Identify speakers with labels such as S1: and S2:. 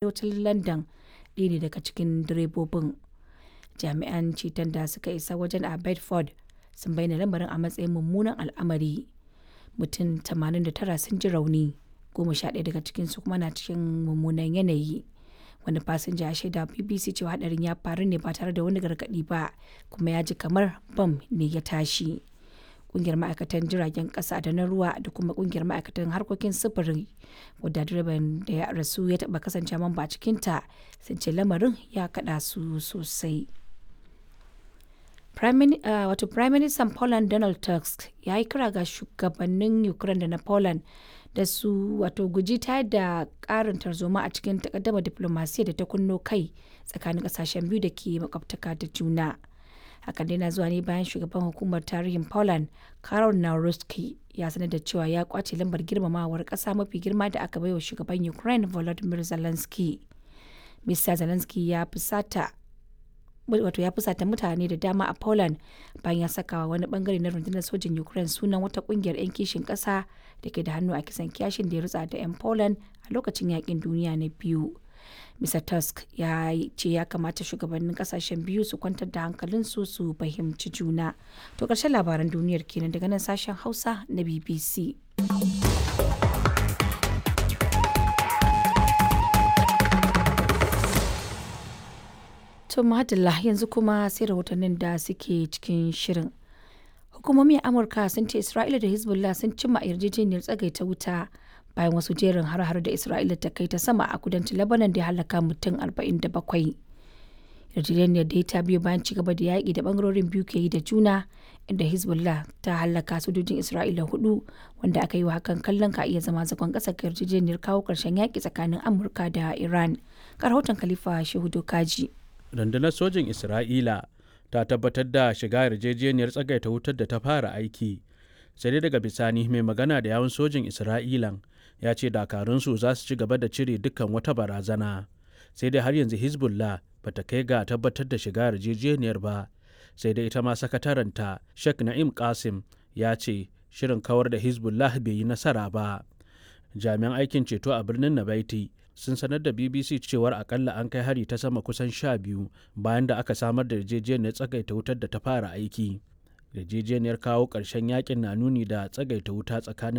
S1: Arewacin London ɗaya ne daga cikin direbobin. Jami'an ceton da suka isa wajen a Bedford sun bayyana lamarin a matsayin “mummunan al'amari.” Mutum 89 sun ji rauni, 11 daga cikinsu kuma na cikin mummunan yanayi. Wani fasinja ya shaidawa BBC cewa hadarin ya faru ne ba tare da wani gargaɗi ba kuma ya ji kamar bam ne ya tashi. Ƙungiyar ma'aikatan jiragen ƙasa da na ruwa da kuma ƙungiyar ma'aikatan harkokin sufuri wadda direban da ya rasu ya taɓa kasancewa mamba a cikinta sun ce lamarin ya kaɗa su sosai. Prime Minister Poland Donald Tusk ya yi kira ga shugabannin Ukraine da na Poland da su guji tayar da ƙarin tarzoma a cikin takaddamar diflomasiyyar da ta kunno kai tsakanin ƙasashen biyu da ke makwabtaka da juna. Hakan dai na zuwa ne bayan shugaban hukumar tarihin Poland Karol Nawrocki ya sanar da cewa ya kwace lambar girmamawar ƙasa mafi girma da aka baiwa shugaban Ukraine Volodymyr Zelensky. Mr. Zelensky ya fusata ya fusata mutane da dama a Poland bayan ya sakawa wani bangare na rundunar sojin Ukraine sunan wata kungiyar 'yan kishin ƙasa da ke da hannu a kisan kiyashin da ya rutsa da 'yan Poland a lokacin yakin duniya na biyu. Mr. Tusk ya ce ya kamata shugabannin kasashen biyu su kwantar da hankalinsu su fahimci juna. To ƙarshen labaran duniyar kenan daga nan sashen Hausa na BBC. To Madalla, yanzu kuma sai rahotannin da suke cikin shirin. Hukumomi a Amurka sun ce Isra'ila da Hezbollah sun cimma yarjejeniyar tsagaita wuta bayan wasu jerin har-har da Isra'ila ta kai ta sama a kudancin Lebanon da ya halaka mutum 47. Yarjejeniyar da ta biyo bayan ci gaba da yaƙi da bangarorin biyu ke yi da juna, inda Hezbollah ta halaka sojojin Isra'ila hudu, wanda aka yi wa hakan kallon ka iya zama zagon ƙasa ga yarjejeniyar kawo ƙarshen yaƙi tsakanin Amurka da Iran. Ga rahoton Khalifa Shehu Dokaji.
S2: Rundunar sojin Isra'ila ta tabbatar da shiga yarjejeniyar tsagaita wutar da ta fara aiki, sai dai daga bisani mai magana da yawun sojin Isra'ilan ya ce dakarunsu za su ci gaba da cire dukkan wata barazana. Sai dai har yanzu Hezbollah ba ta kai ga tabbatar da shiga yarjejeniyar ba. Sai dai ita ma sakataranta Sheikh Na'im Qasim ya ce shirin kawar da Hezbollah bai yi nasara ba. Jami'an aikin ceto a birnin Nabaiti sun sanar da BBC cewar akalla an kai hari ta sama kusan 12 bayan da aka samar da yarjejeniyar tsagaita wutar da ta fara aiki. Yarjejeniyar kawo ƙarshen yakin na nuni da tsagaita wuta tsakanin